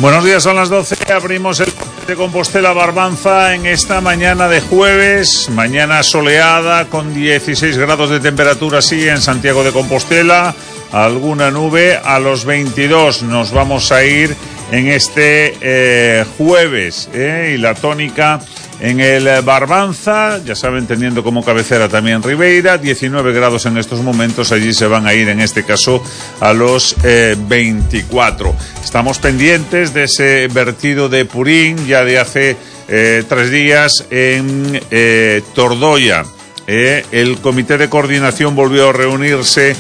Buenos días, son las 12, abrimos el de Compostela Barbanza en esta mañana de jueves, mañana soleada con 16 grados de temperatura, sí, en Santiago de Compostela, alguna nube, a los 22 nos vamos a ir en este jueves, y la tónica en el Barbanza, ya saben, teniendo como cabecera también Ribeira, 19 grados en estos momentos, allí se van a ir en este caso a los 24. Estamos pendientes de ese vertido de purín ya de hace 3 días en Tordoya. El comité de coordinación volvió a reunirse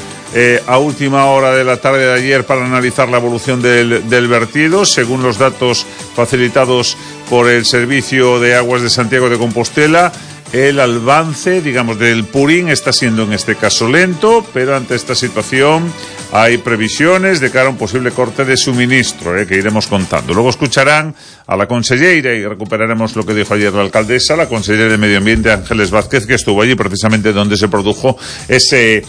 a última hora de la tarde de ayer para analizar la evolución del vertido. Según los datos facilitados por el Servicio de Aguas de Santiago de Compostela, el avance, digamos, del purín está siendo en este caso lento, pero ante esta situación hay previsiones de cara a un posible corte de suministro, que iremos contando. Luego escucharán a la consellera y recuperaremos lo que dijo ayer la alcaldesa, la consellera de Medio Ambiente, Ángeles Vázquez, que estuvo allí precisamente donde se produjo ese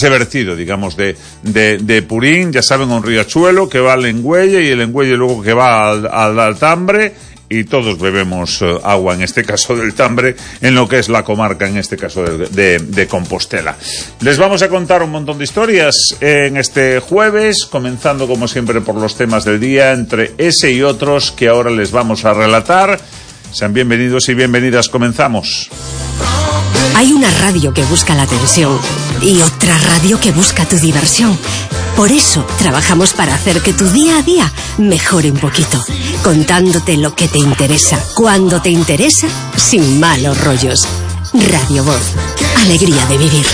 vertido, digamos, de purín. Ya saben, un riachuelo que va al Engüelle y el Engüelle luego que va al Altambre. Y todos bebemos agua, en este caso del Tambre, en lo que es la comarca, en este caso de Compostela. Les vamos a contar un montón de historias en este jueves, comenzando como siempre por los temas del día, entre ese y otros que ahora les vamos a relatar. Sean bienvenidos y bienvenidas, comenzamos. Hay una radio que busca la atención y otra radio que busca tu diversión. Por eso trabajamos para hacer que tu día a día mejore un poquito, contándote lo que te interesa, cuando te interesa, sin malos rollos. Radio Voz, alegría de vivir.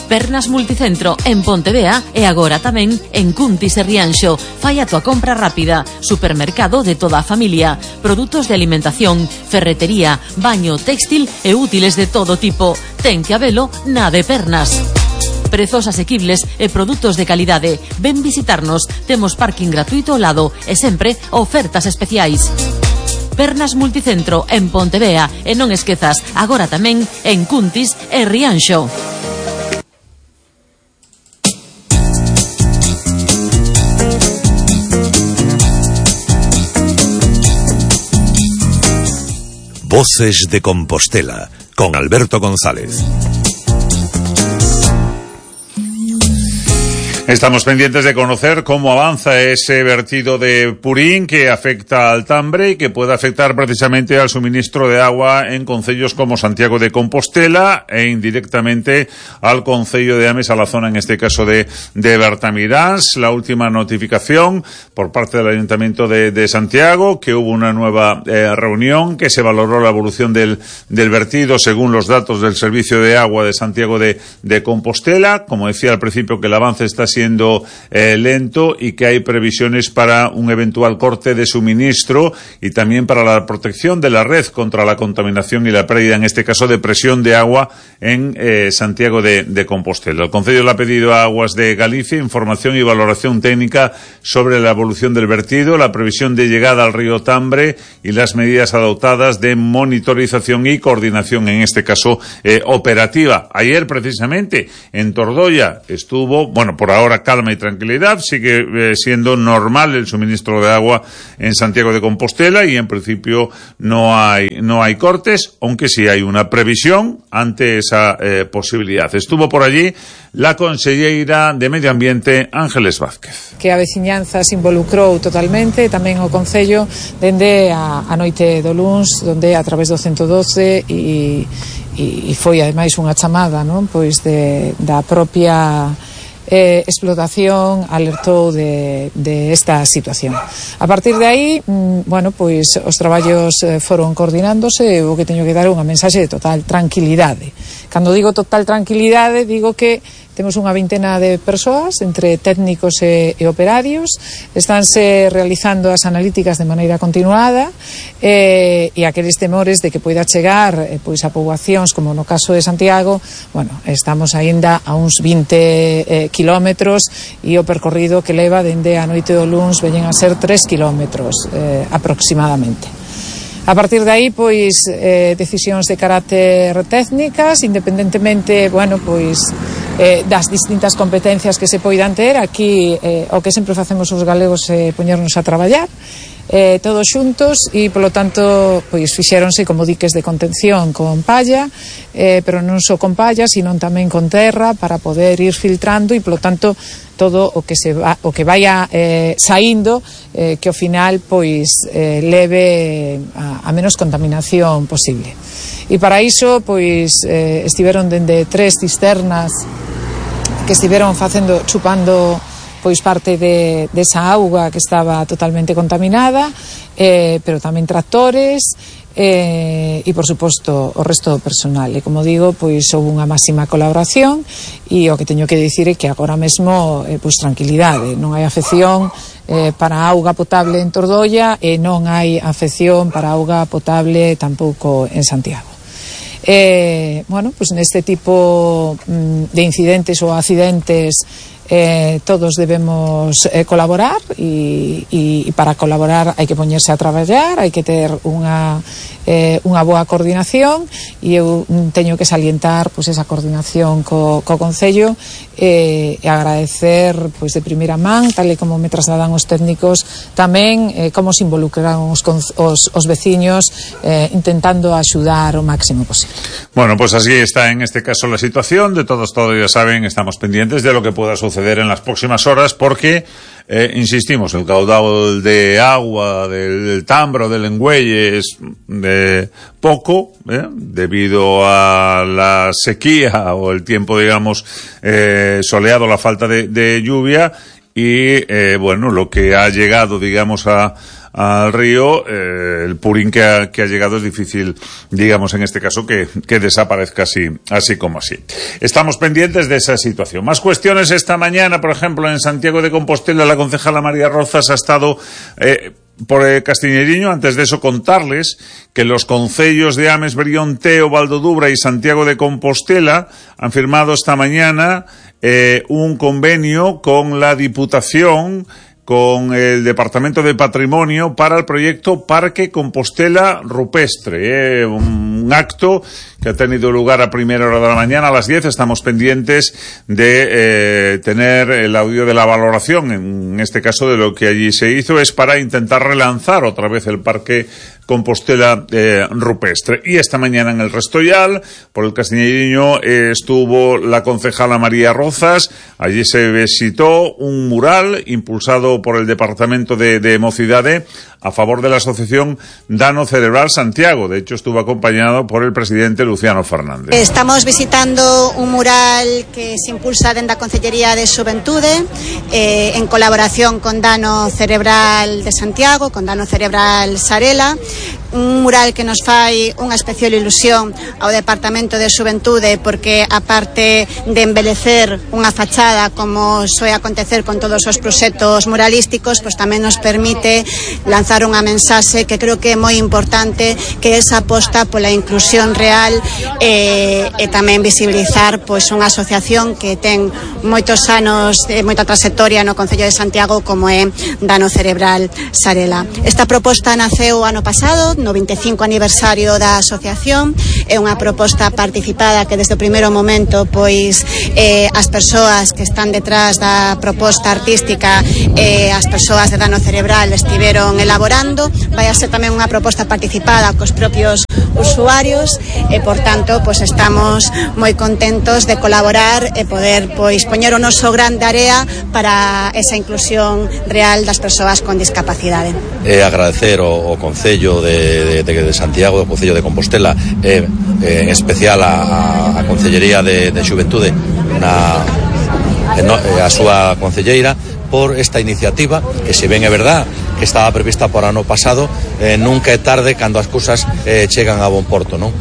Pernas Multicentro en Pontevea e agora tamén en Cuntis e Rianxo. Fai a tua compra rápida. Supermercado de toda a familia. Produtos de alimentación, ferretería, baño, textil e útiles de todo tipo. Ten que habelo na de Pernas. Prezos asequibles e produtos de calidade. Ven visitarnos. Temos parking gratuito ao lado e sempre ofertas especiais. Pernas Multicentro en Pontevea e non esquezas, agora tamén en Cuntis e Rianxo. Voces de Compostela, con Alberto González. Estamos pendientes de conocer cómo avanza ese vertido de purín que afecta al Tambre y que puede afectar precisamente al suministro de agua en concellos como Santiago de Compostela e indirectamente al concello de Ames, a la zona en este caso de Bertamiráns. La última notificación por parte del Ayuntamiento de Santiago, que hubo una nueva reunión, que se valoró la evolución del vertido según los datos del Servicio de Agua de Santiago de Compostela. Como decía al principio, que el avance está siendo lento y que hay previsiones para un eventual corte de suministro y también para la protección de la red contra la contaminación y la pérdida, en este caso, de presión de agua en Santiago de Compostela. El Concello le ha pedido a Aguas de Galicia información y valoración técnica sobre la evolución del vertido, la previsión de llegada al río Tambre y las medidas adoptadas de monitorización y coordinación, en este caso operativa. Ayer, precisamente, en Tordoya estuvo, por ahora calma y tranquilidad, sigue siendo normal el suministro de agua en Santiago de Compostela y en principio no hay cortes, aunque sí hay una previsión ante esa posibilidad. Estuvo por allí la consellera de Medio Ambiente, Ángeles Vázquez. Que a veciñanza se involucrou totalmente, tamén o Concello, dende a noite do luns, donde a través do 112 e foi ademais unha chamada, non, pois da propia explotación alertou de esta situación. A partir de aí, pois os traballos foron coordinándose. O que teño que dar unha mensaxe de total tranquilidade. Cando digo total tranquilidade, digo que temos unha vintena de persoas, entre técnicos e operarios. Estánse realizando as analíticas de maneira continuada e aqueles temores de que poida chegar pois a poboacións, como no caso de Santiago, estamos aínda a uns 20 kilómetros e o percorrido que leva dende a noite do luns veñen a ser 3 kilómetros aproximadamente. A partir de aí, pois, decisións de carácter técnicas, independentemente, das distintas competencias que se poidan ter. Aquí o que sempre facemos os galegos é poñernos a traballar todos xuntos e, polo tanto, pois fixéronse como diques de contención con palla, pero non só con palla, sino tamén con terra para poder ir filtrando e, polo tanto, todo o que vaya saindo que ao final pois leve a menos contaminación posible. E para iso pois estiveron dende 3 cisternas que estiveron chupando pois parte desa auga que estaba totalmente contaminada, pero tamén tractores e, por suposto, o resto do personal. E, como digo, pois houve unha máxima colaboración e o que teño que dicir é que agora mesmo, pois tranquilidade, non hai afección para a auga potable en Tordoia e non hai afección para a auga potable tampouco en Santiago. Bueno, pues neste tipo de incidentes ou accidentes todos debemos colaborar e para colaborar hai que poñerse a traballar, hai que ter unha boa coordinación e eu teño que salientar pois esa coordinación co Concello e agradecer pois de primeira man, tal e como me trasladan os técnicos, tamén como se involucraron os veciños intentando axudar o máximo posible. Bueno, pues así está en este caso la situación. De todos ya saben, estamos pendientes de lo que pueda suceder en las próximas horas porque, insistimos, el caudal de agua del Tambro, del Engüelle es de poco, debido a la sequía o el tiempo, digamos, soleado, la falta de lluvia y, bueno, lo que ha llegado, digamos, al río, el purín que ha llegado es difícil, digamos, en este caso, que desaparezca así como así. Estamos pendientes de esa situación. Más cuestiones esta mañana, por ejemplo, en Santiago de Compostela, la concejala María Rozas ha estado por Castiñeiriño. Antes de eso, contarles que los concellos de Ames, Brión, Teo, Valdodubra y Santiago de Compostela han firmado esta mañana un convenio con la Diputación, con el Departamento de Patrimonio para el proyecto Parque Compostela Rupestre, un acto que ha tenido lugar a primera hora de la mañana, a las 10. Estamos pendientes de tener el audio de la valoración, en este caso de lo que allí se hizo, es para intentar relanzar otra vez el Parque Compostela Rupestre. Y esta mañana en el Restoyal, por el Castiñeiriño, estuvo la concejala María Rozas. Allí se visitó un mural impulsado por el Departamento de Mocidade a favor de la asociación Dano Cerebral Santiago. De hecho, estuvo acompañado por el presidente Luciano Fernández. Estamos visitando un mural que se impulsa dentro da Concellería de Xuventude en colaboración con Dano Cerebral de Santiago, con Dano Cerebral Sarela. Un mural que nos fai unha especial ilusión ao Departamento de Xuventude porque, aparte de embelecer unha fachada como soe acontecer con todos os proxectos muralísticos, pois tamén nos permite lanzar unha mensaxe que creo que é moi importante, que é esa aposta pola inclusión real e tamén visibilizar pois unha asociación que ten moitos anos, moita trayectoria no Concello de Santiago, como é Dano Cerebral Sarela. Esta proposta naceu ano pasado, no 25 aniversario da asociación. É unha proposta participada que desde o primeiro momento pois as persoas que están detrás da proposta artística as persoas de Dano Cerebral estiveron elaborando. Vai a ser tamén unha proposta participada cos propios usuarios e, por tanto, pois estamos moi contentos de colaborar e poder pois poñer o noso gran de area para esa inclusión real das persoas con discapacidade. Agradecer o Concello de Santiago, do Concello de Compostela, en especial a Concellería de Xuventude, a súa concelleira, por esta iniciativa que, se ben é verdad que estaba prevista por ano pasado, nunca é tarde cando as cousas chegan a bon porto, non?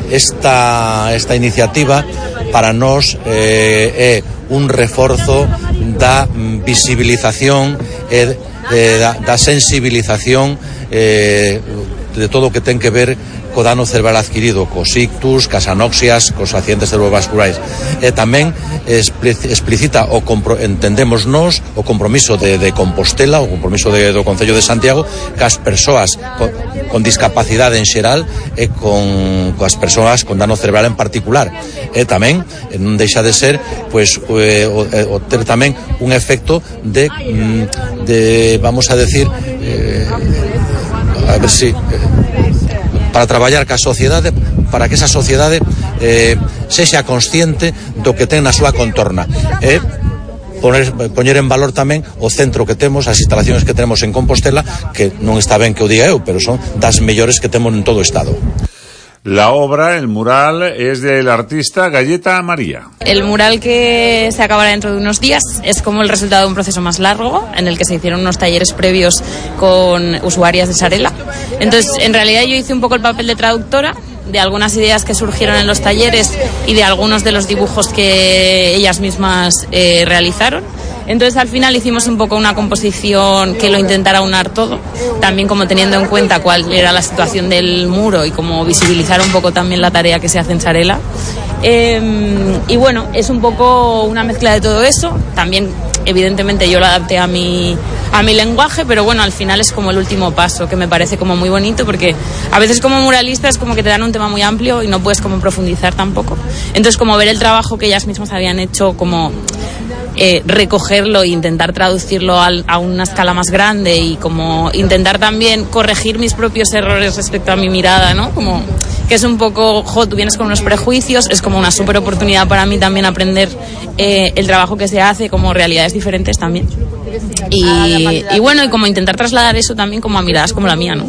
Esta iniciativa para nós é un reforzo da visibilización e da sensibilización de todo o que ten que ver co dano cerebral adquirido cos ictus, cas anoxias, cos accidentes cerebrovasculares. E tamén explicita entendemos nós o compromiso de Compostela, o compromiso do Concello de Santiago cas persoas con discapacidade en xeral e coas persoas con dano cerebral en particular. E tamén non deixa de ser pois o ter tamén un efecto de vamos a decir a ver si para traballar ca sociedade, para que esa sociedade sexa consciente do que ten na súa contorna e poñer en valor tamén o centro que temos, as instalaciones que tenemos en Compostela, que non está ben que o diga eu, pero son das mellores que temos en todo o Estado. La obra, el mural, es del artista Galleta María. El mural que se acabará dentro de unos días es como el resultado de un proceso más largo en el que se hicieron unos talleres previos con usuarias de Sarela. Entonces, en realidad yo hice un poco el papel de traductora de algunas ideas que surgieron en los talleres y de algunos de los dibujos que ellas mismas realizaron. Entonces al final hicimos un poco una composición que lo intentara unar todo, también como teniendo en cuenta cuál era la situación del muro y como visibilizar un poco también la tarea que se hace en Sarela. Y bueno, es un poco una mezcla de todo eso, también evidentemente yo lo adapté a mi lenguaje, pero bueno, al final es como el último paso, que me parece como muy bonito, porque a veces como muralista es como que te dan un tema muy amplio y no puedes como profundizar tampoco. Entonces como ver el trabajo que ellas mismas habían hecho, como recogerlo e intentar traducirlo a una escala más grande y como intentar también corregir mis propios errores respecto a mi mirada, ¿no? Como que es un poco, tú vienes con unos prejuicios, es como una súper oportunidad para mí también aprender el trabajo que se hace, como realidades diferentes también. Y bueno, y como intentar trasladar eso también como a miradas como la mía, ¿no?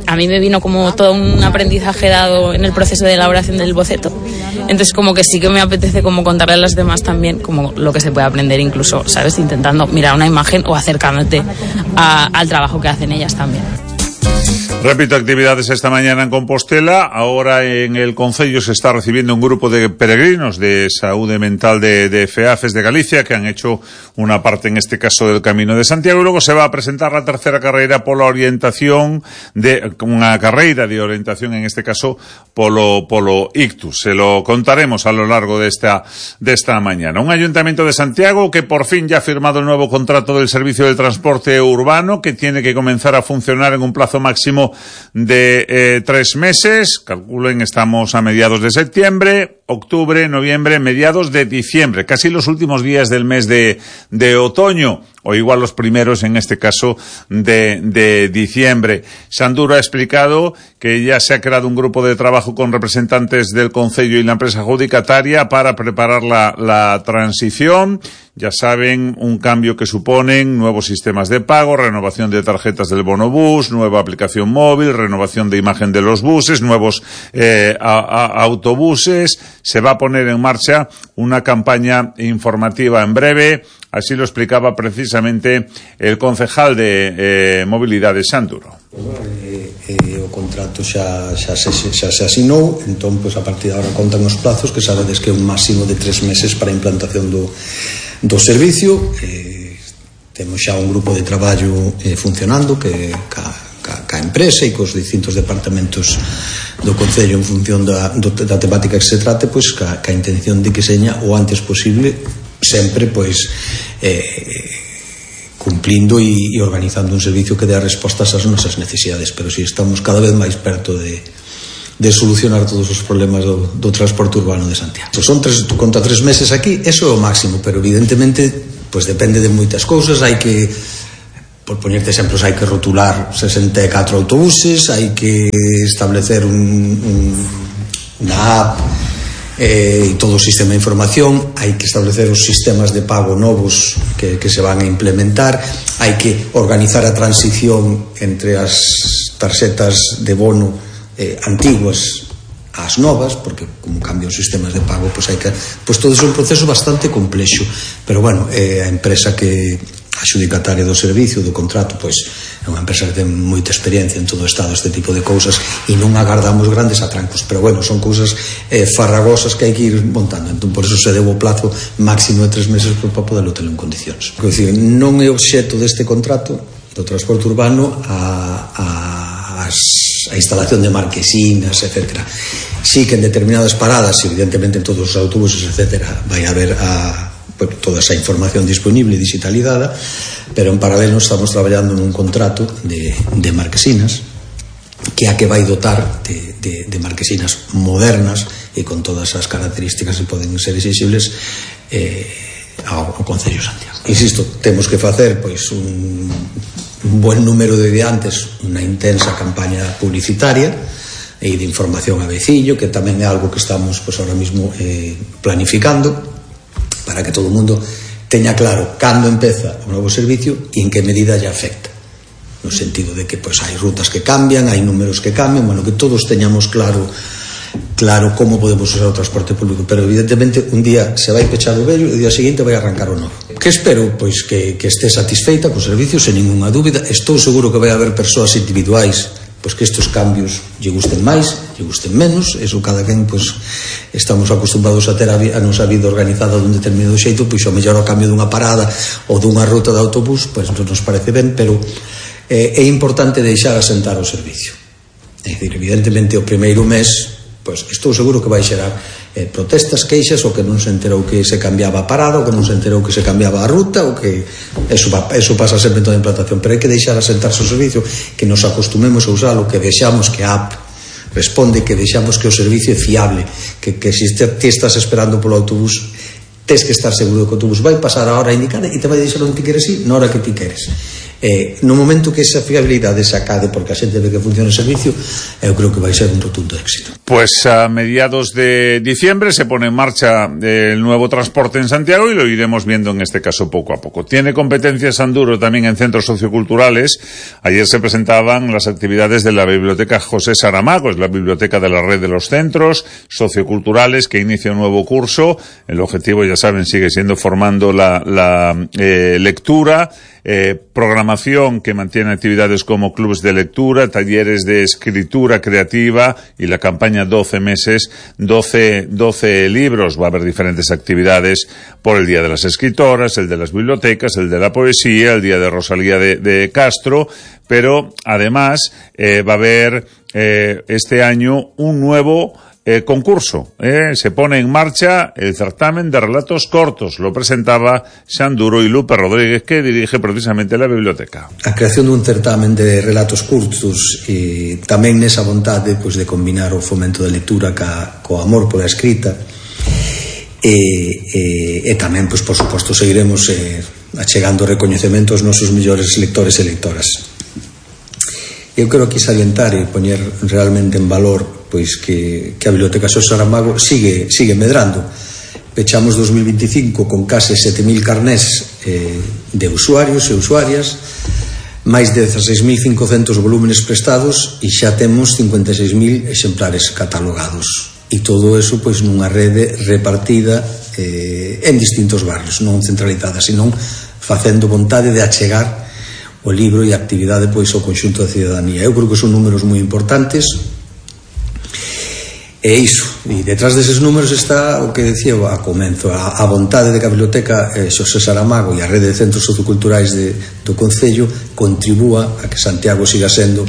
A mí me vino como todo un aprendizaje dado en el proceso de elaboración del boceto. Entonces como que sí que me apetece como contarle a las demás también como lo que se puede aprender, incluso, ¿sabes? Intentando mirar una imagen o acercándote al trabajo que hacen ellas también. Repito, actividades esta mañana en Compostela. Ahora en el Concello se está recibiendo un grupo de peregrinos de Saúde Mental de FEAFES de Galicia, que han hecho una parte, en este caso, del Camino de Santiago, y luego se va a presentar la tercera carreira pola orientación unha carreira de orientación, en este caso, polo ictus. Se lo contaremos a lo largo de esta mañana. Un Ayuntamiento de Santiago que por fin ya ha firmado el nuevo contrato del servicio de transporte urbano, que tiene que comenzar a funcionar en un plazo máximo de 3 meses. Calculen, estamos a mediados de septiembre, octubre, noviembre, mediados de diciembre, casi los últimos días del mes de otoño, o igual los primeros, en este caso, de diciembre. Sanduro ha explicado que ya se ha creado un grupo de trabajo con representantes del Concello y la empresa adjudicataria para preparar la transición. Ya saben, un cambio que suponen nuevos sistemas de pago, renovación de tarjetas del bonobús, nueva aplicación móvil, renovación de imagen de los buses, nuevos autobuses. Se va a poner en marcha una campaña informativa en breve. Así lo explicaba precisamente el concejal de Mobilidad de Sanduro. O contrato xa se asinou, entón, pois, a partir de agora contan os plazos, que sabedes que é un máximo de 3 meses para a implantación do servicio. Temos xa un grupo de traballo funcionando que ca empresa e cos distintos departamentos do Concello en función da temática que se trate, pois ca intención de que seña o antes posible, sempre pois cumplindo e organizando un servicio que dé respostas ás nosas necesidades, pero si estamos cada vez máis perto de solucionar todos os problemas do transporte urbano de Santiago. Son 3 meses aquí, eso é o máximo, pero evidentemente pois depende de moitas cousas. Hai que, por poñerte exemplos, hai que rotular 64 autobuses, hai que establecer unha app e todo o sistema de información, hai que establecer os sistemas de pago novos que se van a implementar, hai que organizar a transición entre as tarxetas de bono antiguas ás novas, porque como cambian os sistemas de pago, pois hai que, pois todo é un proceso bastante complexo, pero bueno, a empresa que adxudicataria do servicio, do contrato, pois é unha empresa que ten moita experiencia en todo o Estado este tipo de cousas, e non agardamos grandes atrancos, pero bueno, son cousas farragosas que hai que ir montando. Entón, por eso se deu o plazo máximo de 3 meses para poderlo ter en condicións. Quer dizer, non é obxecto deste contrato do transporte urbano as a instalación de marquesinas, etcétera. Sí que en determinadas paradas, evidentemente en todos os autobuses, etcétera, vai haber toda esa información disponible, digitalizada, pero en paralelo estamos traballando nun contrato de marquesinas, que a que vai dotar de marquesinas modernas e con todas as características que poden ser exigibles ao Concello de Santiago. Insisto, temos que facer pois un buen número de diantes, unha intensa campaña publicitaria e de información a veciño, que tamén é algo que estamos pois ahora mismo planificando para que todo o mundo teña claro cando empeza o novo servicio e en que medida lle afecta, no sentido de que pois hai rutas que cambian, hai números que cambian, bueno, que todos teñamos claro como podemos usar o transporte público, pero evidentemente un día se vai pechar o vello e o día seguinte vai arrancar o novo. Que espero pois que este satisfeita co servicio, sen ninguna dúbida. Estou seguro que vai haber persoas individuais pois que estes cambios lle gusten máis, lle gusten menos, eso cada quen pois estamos acostumbrados a ter a nosa vida organizada dun determinado xeito, pois ao mellor ao cambio dunha parada ou dunha ruta de autobús, pois non nos parece ben, pero é importante deixar asentar o servicio. É dicir, evidentemente o primeiro mes pois estou seguro que vai xerar protestas, queixas, o que non se enterou que se cambiaba a parada, o que non se enterou que se cambiaba a ruta, o que eso pasa sempre en toda a implantación, pero hai que deixar asentarse o servicio, que nos acostumemos a usalo, que deixamos que a app responde, que deixamos que o servicio é fiable, que se ti estás esperando polo autobús, tes que estar seguro que o autobús vai pasar a hora indicada e te vai deixar onde ti queres ir, na hora que ti queres. No momento que esa fiabilidade se acade porque a xente ve que funciona o servicio, eu creo que vai ser un rotundo éxito. Pues a mediados de diciembre se pone en marcha el nuevo transporte en Santiago y lo iremos viendo en este caso poco a poco. Tiene competencias Sanduro también en centros socioculturales. Ayer se presentaban las actividades de la Biblioteca José Saramago, es la biblioteca de la red de los centros socioculturales que inicia un nuevo curso. El objetivo, ya saben, sigue siendo formando la lectura, programación que mantiene actividades como clubes de lectura, talleres de escritura creativa y la campaña 12 meses, 12 libros. Va a haber diferentes actividades por el Día de las Escritoras, el de las bibliotecas, el de la poesía, el Día de Rosalía de Castro, pero además va a haber este año un nuevo concurso. Se pone en marcha el certamen de relatos cortos. Lo presentaba Sanduro y Lupe Rodríguez, que dirige precisamente la biblioteca. A creación dun certamen de relatos curtos e tamén nesa vontade pois, de combinar o fomento da lectura co amor pola escrita e tamén, pois, por suposto, seguiremos achegando recoñecemento aos nosos mellores lectores e lectoras. Eu quero aquí salientar e poñer realmente en valor pois que a Biblioteca José Saramago sigue medrando. Pechamos 2025 con case 7.000 carnés de usuarios e usuarias, máis de 16.500 volúmenes prestados e xa temos 56.000 exemplares catalogados. E todo eso pois nunha rede repartida en distintos barrios, non centralizada, senón facendo vontade de achegar o libro e a actividade pois ao conxunto da cidadanía. Eu creo que son números moi importantes. E iso, e detrás deses números está o que decía a comenzo, a vontade de que a Biblioteca José Saramago e a rede de centros socioculturais do Concello contribúa a que Santiago siga sendo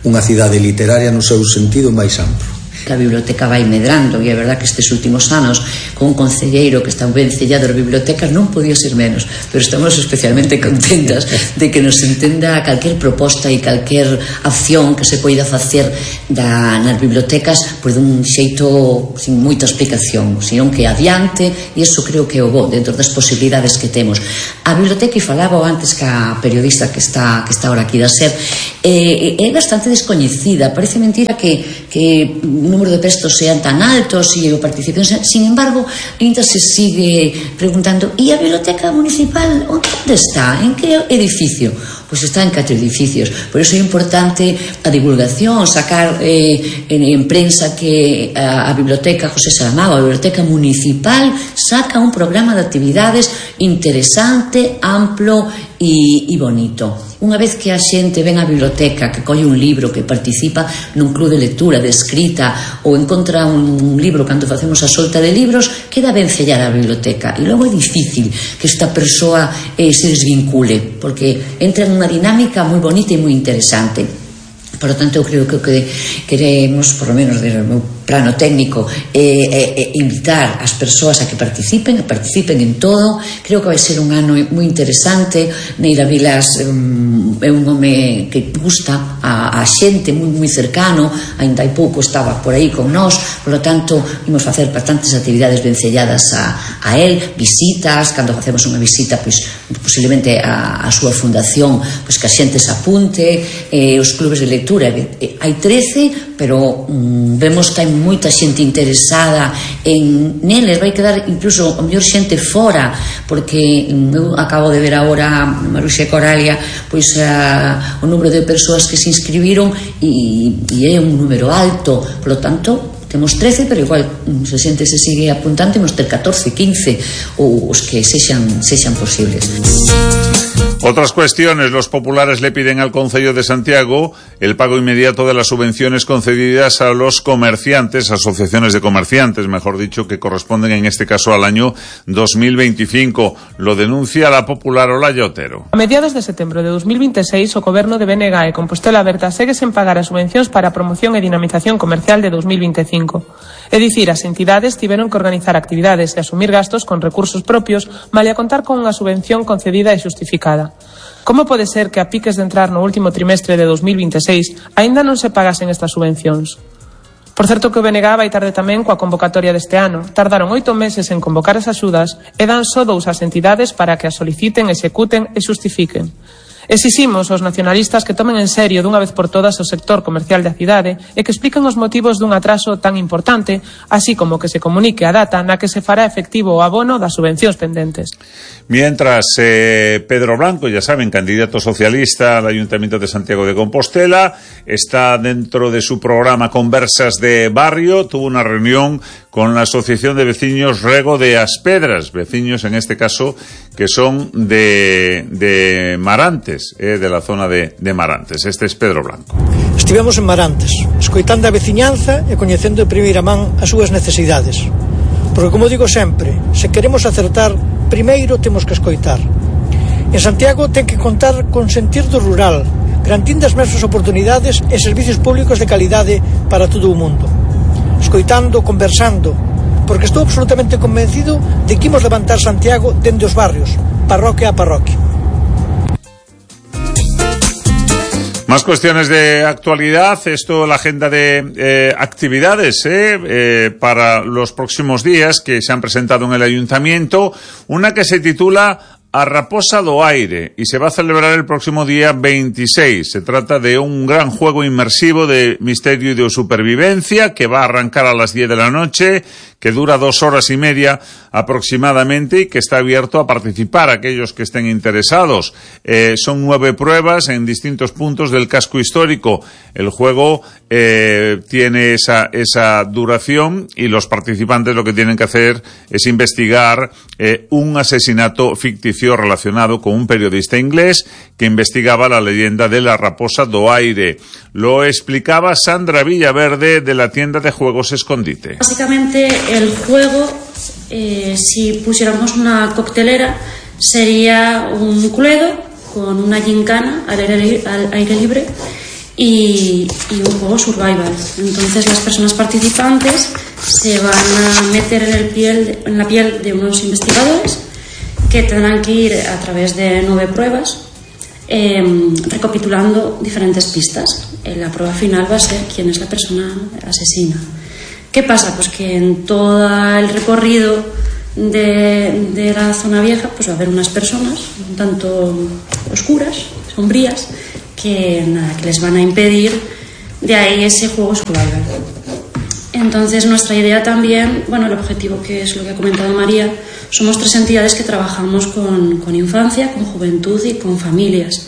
unha cidade literaria no seu sentido máis amplo. Que a biblioteca vai medrando e é verdad que estes últimos anos con un concelleiro que está ben cellado as bibliotecas non podía ser menos, pero estamos especialmente contentas de que nos entenda calquer proposta e calquer acción que se poida facer nas bibliotecas por dun xeito sin moita explicación, senón que adiante, e iso creo que é o bo dentro das posibilidades que temos. A biblioteca, e falaba antes que a periodista que está ahora aquí da SER, é bastante descoñecida, parece mentira que número de prestos sean tan altos e o participen, sin embargo ainda se sigue preguntando e a biblioteca municipal onde está? En que edificio? Pois está en 4 edificios, por iso é importante a divulgación, sacar en prensa que a biblioteca José Saramago, a biblioteca municipal, saca un programa de actividades interesante, amplo e bonito. Unha vez que a xente ven á biblioteca, que colle un libro, que participa nun club de lectura, de escrita, ou encontra un libro cando facemos a solta de libros, queda ben sellar a biblioteca. E logo é difícil que esta persoa se desvincule, porque entra nunha dinámica moi bonita e moi interesante. Por lo tanto, eu creo que o que queremos, por lo menos desde o meu plano técnico, invitar as persoas a que participen en todo. Creo que vai ser un ano moi interesante. Neira Vilas é un home que gusta a xente, moi cercano, ainda hai pouco estaba por aí con nós, por lo tanto, imos facer bastantes actividades vencelladas a él, visitas, cando facemos unha visita, pois, posiblemente a súa fundación, pois que a xente se apunte, os clubes de lectura. Hai 13, pero vemos que hai moita xente interesada neles. Vai quedar incluso a mellor xente fora, porque eu acabo de ver agora, Maruxa e Coralia, pois o número de persoas que se inscribiron e é un número alto. Por lo tanto, temos 13, pero igual se xente se sigue apuntando, temos ter 14, 15 ou os que sexan posibles. Otras cuestiones. Los populares le piden al Concello de Santiago el pago inmediato de las subvenciones concedidas a los comerciantes, asociaciones de comerciantes, mejor dicho, que corresponden en este caso al año 2025. Lo denuncia la popular Olaya Otero. A mediados de setembro de 2026, o Goberno de BNG e Compostela Aberta segue sen pagar as subvencións para a promoción e dinamización comercial de 2025. É dicir, as entidades tiveron que organizar actividades e asumir gastos con recursos propios, malia contar con unha subvención concedida e xustificada. Como pode ser que a piques de entrar no último trimestre de 2026 aínda non se pagasen estas subvencións? Por certo que o BNG vai tarde tamén coa convocatoria deste ano. Tardaron 8 meses en convocar as axudas e dan só 2 ás entidades para que as soliciten, executen e xustifiquen. Exiximos aos nacionalistas que tomen en serio dunha vez por todas o sector comercial da cidade e que expliquen os motivos dun atraso tan importante, así como que se comunique a data na que se fará efectivo o abono das subvencións pendentes. Mientras, Pedro Blanco, ya saben, candidato socialista al Ayuntamiento de Santiago de Compostela, está dentro de su programa Conversas de Barrio, tuvo una reunión con la Asociación de Vecinos Rego de Aspedras, vecinos en este caso que son de Marantes, de la zona de Marantes. Este es Pedro Blanco. Estivemos en Marantes, escoitando a veciñanza e coñecendo de primeira man as súas necesidades. Porque, como digo sempre, se queremos acertar, primeiro temos que escoitar. En Santiago ten que contar con sentir do rural, garantindo as mesmas oportunidades e servicios públicos de calidade para todo o mundo. Escoitando, conversando, porque estou absolutamente convencido de que imos levantar Santiago dende os barrios, parroquia a parroquia. Más cuestiones de actualidad. Esto, la agenda de actividades para los próximos días que se han presentado en el Ayuntamiento. Una que se titula A Raposa do Aire y se va a celebrar el próximo día 26. Se trata de un gran juego inmersivo de misterio y de supervivencia que va a arrancar a las 10 de la noche, que dura 2 horas y media aproximadamente y que está abierto a participar aquellos que estén interesados. Son 9 pruebas en distintos puntos del casco histórico. El juego tiene esa duración y los participantes lo que tienen que hacer es investigar un asesinato ficticio relacionado con un periodista inglés que investigaba la leyenda de la Raposa do Aire. Lo explicaba Sandra Villaverde de la tienda de juegos Escondite. Básicamente el juego, si pusiéramos una coctelera, sería un cluedo con una gincana al aire libre y un juego survival. Entonces las personas participantes se van a meter en la piel de unos investigadores que tendrán que ir a través de 9 pruebas recapitulando diferentes pistas. La prueba final va a ser quién es la persona asesina. ¿Qué pasa? Pues que en todo el recorrido de la zona vieja pues va a haber unas personas un tanto oscuras, sombrías, que les van a impedir de ahí ese juego survival. Entonces nuestra idea también, el objetivo, que es lo que ha comentado María, somos 3 entidades que trabajamos con infancia, con juventud y con familias.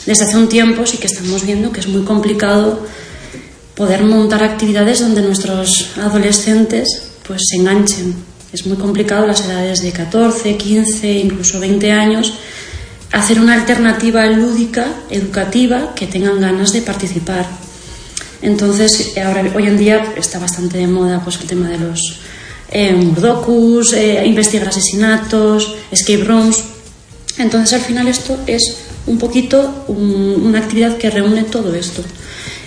Desde hace un tiempo sí que estamos viendo que es muy complicado poder montar actividades donde nuestros adolescentes pues se enganchen. Es muy complicado las edades de 14, 15, incluso 20 años, hacer una alternativa lúdica, educativa, que tengan ganas de participar. Entonces, hoy en día está bastante de moda pues el tema de los murdocus, investigar asesinatos, escape rooms. Entonces, al final esto es un poquito una actividad que reúne todo esto.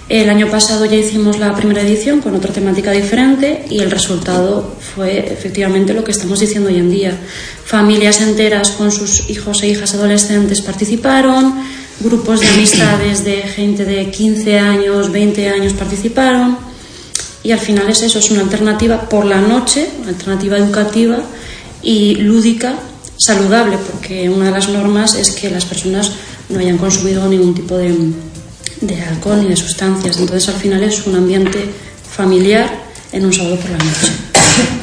El año pasado ya hicimos la primera edición con otra temática diferente y el resultado fue efectivamente lo que estamos diciendo hoy en día. Familias enteras con sus hijos e hijas adolescentes participaron, grupos de amistades de gente de 15 años, 20 años participaron y al final es eso, es una alternativa por la noche, una alternativa educativa y lúdica, saludable, porque una de las normas es que las personas no hayan consumido ningún tipo de alcohol ni de sustancias. Entonces al final es un ambiente familiar en un sábado por la noche.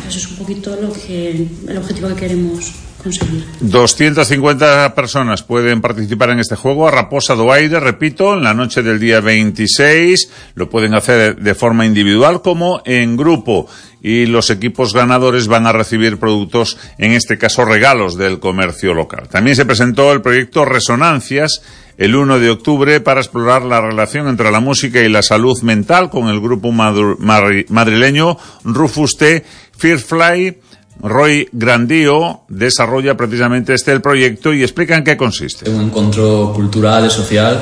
Eso es un poquito el objetivo que queremos conseguir. 250 personas pueden participar en este juego a Raposa do Aire, repito, en la noche del día 26. Lo pueden hacer de forma individual como en grupo. Y los equipos ganadores van a recibir productos, en este caso regalos del comercio local. También se presentó el proyecto Resonancias el 1 de octubre para explorar la relación entre la música y la salud mental con el grupo madrileño Rufus T. Firefly. Roy Grandío desarrolla precisamente el proyecto y explica en qué consiste. Un encontro cultural e social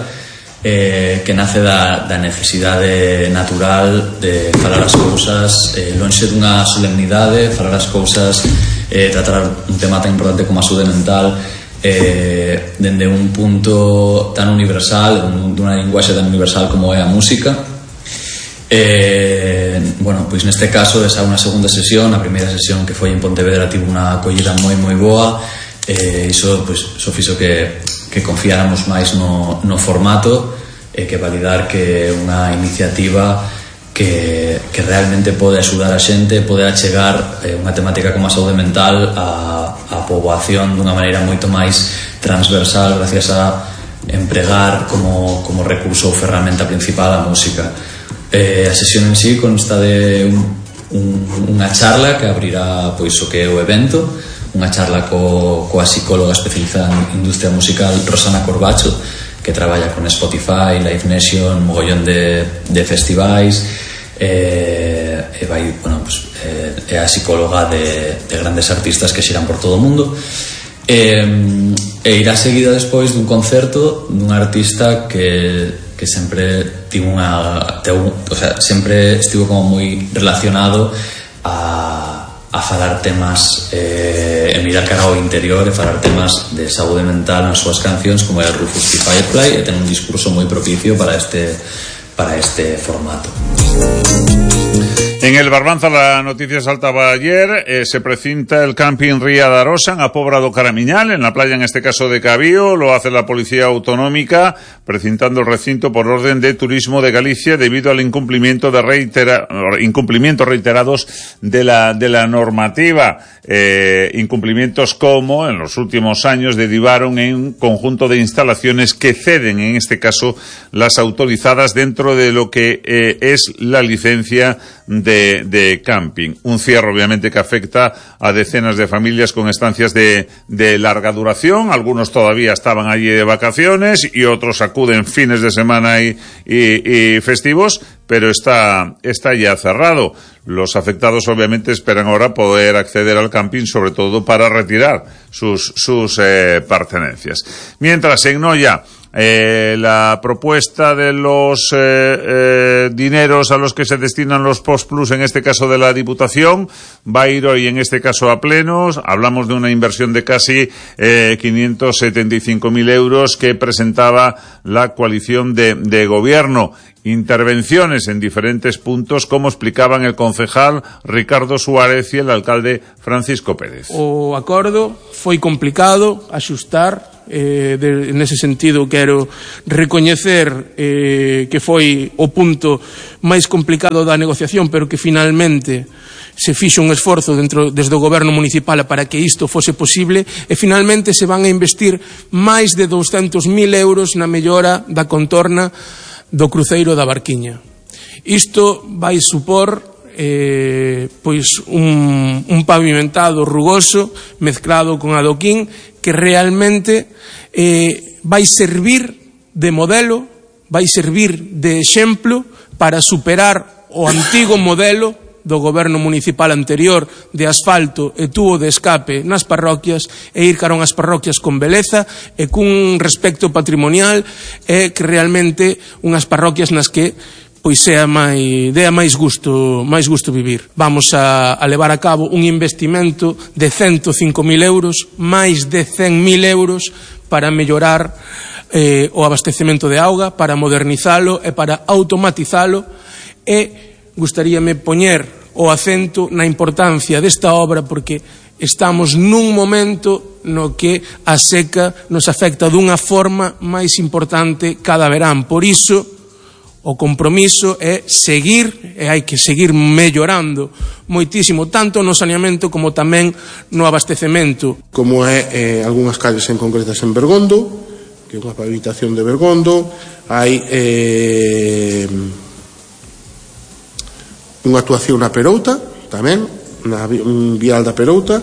que nace da necesidade natural de falar as cousas lonxe dunha solemnidade, falar as cousas, tratar un tema tan importante como a saúde mental dende un punto tan universal, dunha linguaxe tan universal como é a música. Bueno, pois neste caso esa é unha segunda sesión. A primeira sesión que foi en Pontevedra tivo unha acollida moi boa, iso fixo que confiáramos máis no formato e que validar que é unha iniciativa que realmente pode axudar a xente, pode achegar unha temática como a saúde mental a poboación dunha maneira moito máis transversal gracias a empregar como recurso ou ferramenta principal a música. A sesión en sí consta de unha charla que abrirá pois o que é o evento, unha charla coa psicóloga especializada en industria musical Rosana Corbacho, que traballa con Spotify, Live Nation, mogollón de festivais, vai, bueno, pues, é a psicóloga de grandes artistas que xiran por todo o mundo, e irá seguida despois dun concerto dun artista que sempre tivo sempre estivo como moi relacionado a falar temas e mirar cara ao interior e falar temas de saúde mental nas súas cancións, como é o Rufus T. Firefly, e ten un discurso moi propicio para este formato. En el Barbanza la noticia saltaba ayer, se precinta el camping Ría de Arosa a Pobra do Caramiñal, en la playa en este caso de Cabío. Lo hace la Policía Autonómica, precintando el recinto por orden de Turismo de Galicia debido al incumplimientos reiterados de la normativa. Incumplimientos como en los últimos años derivaron en un conjunto de instalaciones que ceden, en este caso las autorizadas dentro de lo que es la licencia de camping. Un cierre obviamente que afecta a decenas de familias con estancias de larga duración. Algunos todavía estaban allí de vacaciones y otros acuden fines de semana y festivos, pero está ya cerrado. Los afectados obviamente esperan ahora poder acceder al camping, sobre todo para retirar sus pertenencias. Mientras en Noia, la propuesta de los dineros a los que se destinan los Postplus, en este caso de la Diputación, va a ir hoy en este caso a plenos. Hablamos de una inversión de casi 575.000 euros que presentaba la coalición de gobierno. Intervenciones en diferentes puntos, como explicaban el concejal Ricardo Suárez y el alcalde Francisco Pérez. O acordo foi complicado axustar, nese sentido quero recoñecer que foi o punto máis complicado da negociación, pero que finalmente se fixo un esforzo desde o goberno municipal para que isto fose posible, e finalmente se van a investir máis de 200.000 euros na mellora da contorna do cruceiro da Barquiña. Isto vai supor pois un pavimentado rugoso mezclado con adoquín que realmente vai servir de modelo, vai servir de exemplo para superar o antigo modelo do goberno municipal anterior de asfalto e tubo de escape nas parroquias e ir cara unhas parroquias con beleza e cun respecto patrimonial e que realmente unhas parroquias nas que pois dea máis gusto vivir. Vamos a levar a cabo un investimento de 105.000 euros, máis de 100.000 euros para mellorar o abastecemento de auga, para modernizalo e para automatizalo, e gustaríame poñer o acento na importancia desta obra porque estamos nun momento no que a seca nos afecta dunha forma máis importante cada verán. Por iso, o compromiso é seguir, e hai que seguir mellorando moitísimo, tanto no saneamento como tamén no abastecemento. Como é algunhas calles en concretas en Bergondo, que é unha pavimentación de Bergondo, hai unha actuación na Perouta, tamén, na vial da Perouta,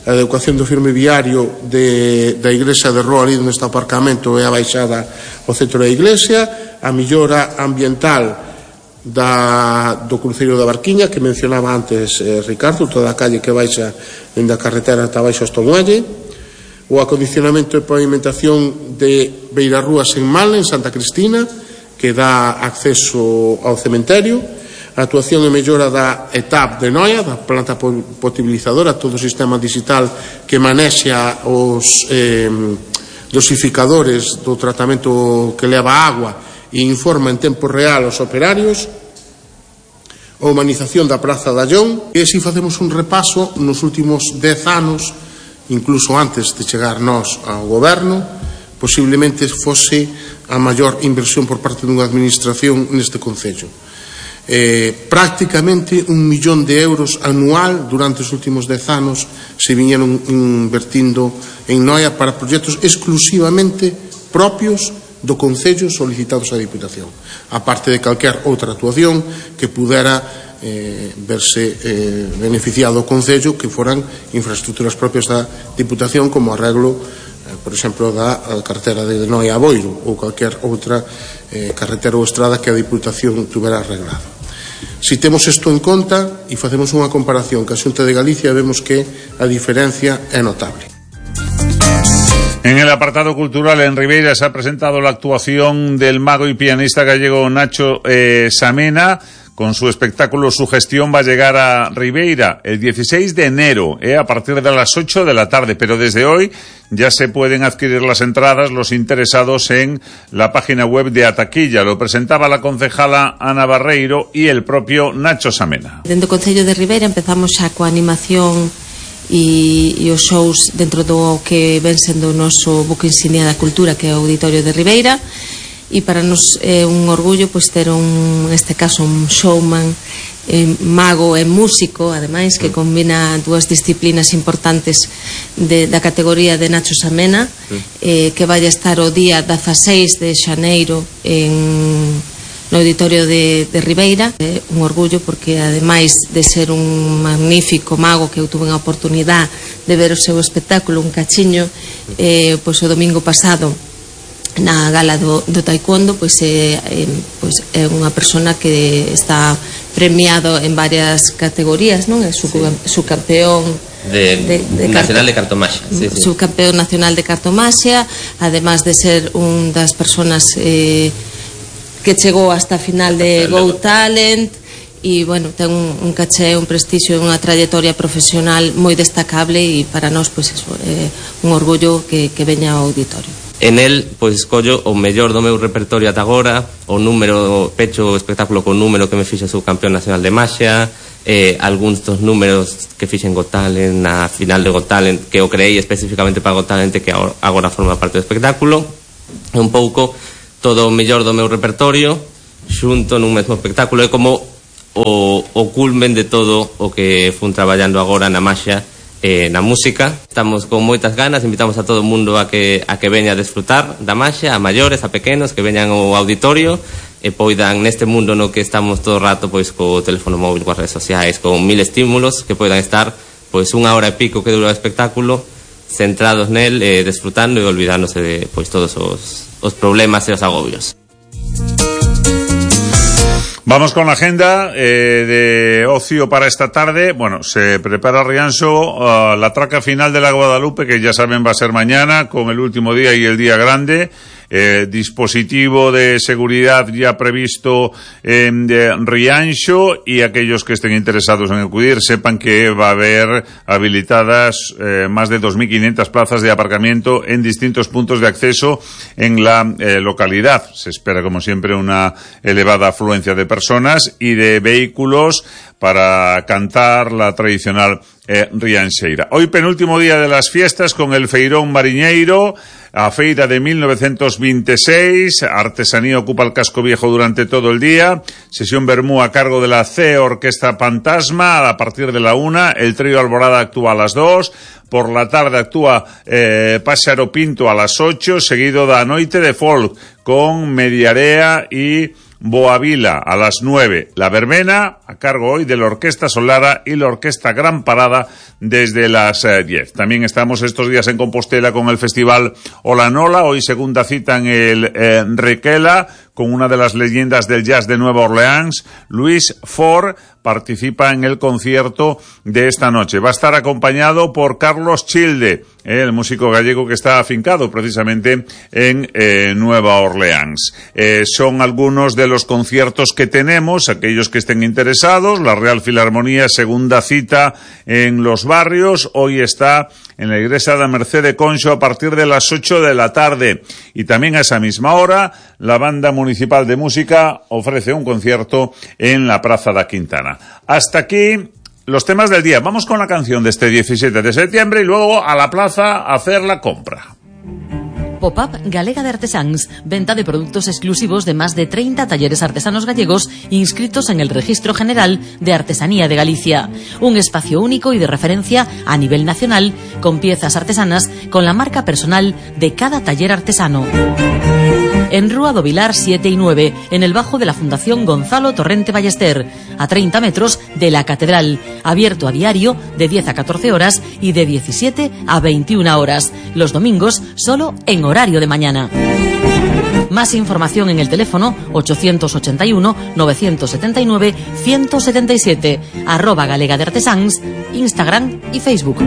a adecuación do firme viario da iglesia de Roa, ali onde está o aparcamento, é a baixada ao centro da iglesia, a millora ambiental do cruceiro da Barquiña, que mencionaba antes Ricardo, toda a calle que baixa dende a carretera ata baixo hasta o muelle, o acondicionamento e pavimentación de Beirarrúas en Mal, en Santa Cristina, que dá acceso ao cementerio, a actuación e mellora da ETAP de Noia, da planta potabilizadora, todo o sistema digital que manexa os dosificadores do tratamento que leva a agua e informa en tempo real aos operarios, a humanización da Praza da Allón, e se facemos un repaso nos últimos 10 anos, incluso antes de chegar nós ao goberno, posiblemente fose a maior inversión por parte dunha administración neste concello. Prácticamente 1 millón de euros anual durante os últimos 10 anos se viñeron invertindo en Noia para proxectos exclusivamente propios do concello solicitados á Diputación, aparte de calquer outra actuación que pudera verse beneficiado o concello, que foran infraestructuras propias da Diputación, como arreglo, por exemplo, da carretera de Noia a Boiro, ou calquer outra carretera ou estrada que a Diputación tuvera arreglado. Si temos isto en conta e facemos unha comparación ca Xunta de Galicia, vemos que a diferencia é notable. En el apartado cultural, en Ribeira se ha presentado la actuación del mago y pianista gallego Nacho Samena. Con su espectáculo Su Gestión va a llegar a Ribeira el 16 de enero, a partir de las 8 de la tarde. Pero desde hoy ya se pueden adquirir las entradas los interesados en la página web de Ataquilla. Lo presentaba la concejala Ana Barreiro y el propio Nacho Samena. Dentro do Concello de Ribeira empezamos xa coa animación e os shows dentro do que ven sendo o noso buque insignia da cultura, que é o Auditorio de Ribeira. E para nos é un orgullo pois ter neste caso un showman, mago e músico, ademais, que combina dúas disciplinas importantes da categoría de Nacho Samena, que vai estar o día 16 de xaneiro no Auditorio de Ribeira. É un orgullo porque, ademais de ser un magnífico mago, que eu tuve a oportunidade de ver o seu espectáculo, un cachiño, pois o domingo pasado na gala do taekwondo, pois é unha persona que está premiado en varias categorías, non? É subcampeón nacional de cartomaxia, subcampeón nacional de cartomaxia, además de ser un das personas que chegou hasta a final de Go Talent, e, bueno, ten un caché, un prestixio e unha trayectoria profesional moi destacable, e para nós, pois, é un orgullo que veña ao auditorio. En el, pois, escollo o mellor do meu repertorio ata agora, o número, pecho o espectáculo con número que me fixe subcampeón nacional de maxia, algúns dos números que fixen Got Talent, na final de Got Talent, que o creei especificamente para Got Talent, que agora forma parte do espectáculo. Un pouco todo o mellor do meu repertorio xunto nun mesmo espectáculo. É como o culmen de todo o que fun traballando agora na maxia, na música. Estamos con moitas ganas, invitamos a todo o mundo a que veña a desfrutar da maxia, a maiores, a pequenos, que veñan ao auditorio e poidan, neste mundo no que estamos todo o rato, pois, co teléfono móvil, coas redes sociais, con 1000 estímulos, que poidan estar, pois, 1 hora e pico que dura o espectáculo, centrados nel, desfrutando e olvidándose de, pois, todos os problemas e os agobios. Vamos con la agenda de ocio para esta tarde. Bueno, se prepara Rianxo la traca final de la Guadalupe, que ya saben va a ser mañana, con el último día y el día grande. Dispositivo de seguridad ya previsto en Rianxo, y aquellos que estén interesados en acudir sepan que va a haber habilitadas más de 2.500 plazas de aparcamiento en distintos puntos de acceso en la localidad. Se espera, como siempre, una elevada afluencia de personas y de vehículos para cantar la tradicional rianxeira. Hoy penúltimo día de las fiestas con el Feirón Mariñeiro, a feira de 1926, artesanía ocupa el casco viejo durante todo el día, sesión vermú a cargo de la C Orquesta Fantasma a partir de la 1, el trío Alborada actúa a las 2, por la tarde actúa Páxaro Pinto a las 8, seguido da Noite de Folk con Mediarea y Boavila a las 9. La verbena a cargo hoy de la Orquesta Solara y la Orquesta Gran Parada desde las 10. También estamos estos días en Compostela con el Festival Olanola, hoy segunda cita en el Requela, con una de las leyendas del jazz de Nueva Orleans, Luis Ford, participa en el concierto de esta noche. Va a estar acompañado por Carlos Childe, el músico gallego que está afincado precisamente en Nueva Orleans. Son algunos de los conciertos que tenemos, aquellos que estén interesados. La Real Filarmonía, segunda cita en Los Barrios, hoy está en la iglesia de Merced de Conxo a partir de las 8 de la tarde. Y también a esa misma hora, la Banda Municipal de Música ofrece un concierto en la Praza da Quintana. Hasta aquí los temas del día. Vamos con la canción de este 17 de septiembre y luego a la plaza a hacer la compra. Pop-up Galega de Artesáns, venta de productos exclusivos de más de 30 talleres artesanos gallegos inscritos en el Registro General de Artesanía de Galicia. Un espacio único y de referencia a nivel nacional, con piezas artesanas con la marca personal de cada taller artesano. En Rúa do Vilar 7 y 9, en el bajo de la Fundación Gonzalo Torrente Ballester, a 30 metros de la Catedral, abierto a diario de 10 a 14 horas y de 17 a 21 horas, los domingos solo en horario de mañana. Más información en el teléfono 881-979-177, @Galega de Artesáns, Instagram y Facebook.